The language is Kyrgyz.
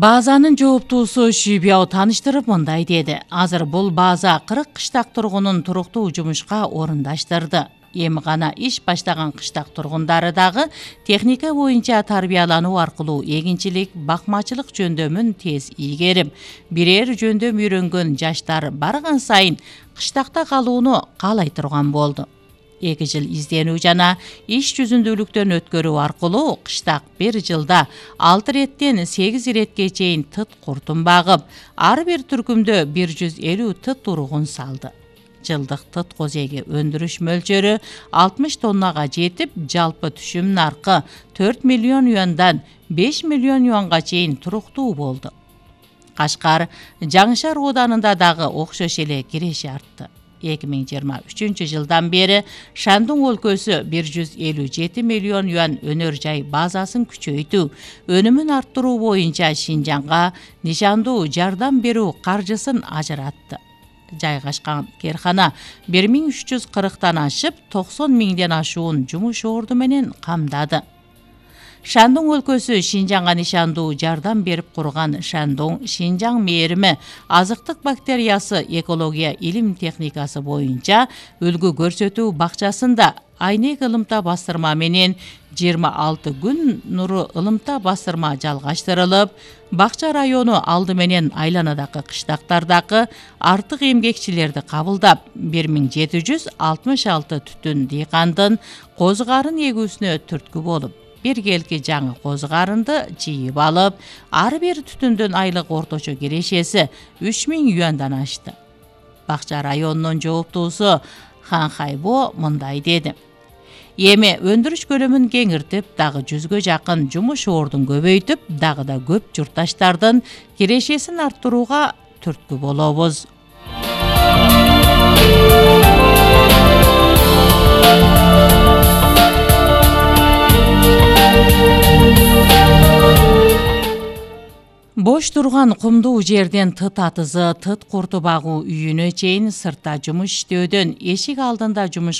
Базанын жооптуусу Шүйбяу тааныштырып мындай деди. Азыр бул база 40 кыштак тургунун туруктуу жумушка орундаштырды. Эми гана иш баштаган кыштак тургундары дагы техника боюнча тарбиялануу аркылуу эгинчилик, бакмачылык жөндөмүн тез ийгерип, бирээр жөндөм үйрөнгөн жаштар барган сайын кыштакта калууну каалай турган болду. 2 жыл изденүү жана иш жүзүндүүлүктөн өткөрүү аркылуу кыштак бир жылда 6 реттен 8 иретке чейин тыт куртун багып, ар бир түркүмдө 150 тыт тургун салды. Жылдык тыт козеги өндүрүш мөлчөрү 60 тоннага жетип, жалпы түшүм наркы 4 миллион юандан 5 миллион юанга чейин туруктуу болду. Кашкар, Жаңышар ооданында дагы окшош эле киреши артты. 2023 жылдан бери Шандун өлкөсү 157 миллион юан өнөр жай базасын күчөйтүү, өнүмүн арттыруу боюнча Шинжаңга нишандуу жардам берүү каржысын ажыратты. Жайгашкан керкана 1340 ашып, 90 миңден ашуун жумуш орду менен камдады. Шандун өлкөсү Шинжаңга нишандуу жардам берип курган Шандун Шинжаң мээрими азыктык бактериясы экология илим техникасы боюнча үлгү көрсөтүү бакчасында айнек ылымта бастырма менен 26 күн нуру ылымта бастырма жалгаштырылып, бакча району алды менен айланадагы кыштактардагы артык эмгекчилерди кабылдап, 1766 түтүн дыйкандын козу карын эгүүсүнө түрткү болуп, биргелки жаңы козу карынды жыйып алып, ар бир түтүндүн айлык орточо кирешеси 3000 юандан ашты. Бакча районунун жооптуусу Хан Хайбо мындай деди. Эми өндүрүш көлөмүн кеңиртип, дагы 100гө жакын жумуш ордун көбөйтүп, дагы да көп журтташтардын кирешесин арттырууга түрткү болобуз. Бош турган кумдуу жерден тыт атызы, тыт курту багуу үйүнө чейин сыртта жумуш иштөөдөн эшик алдында жумуш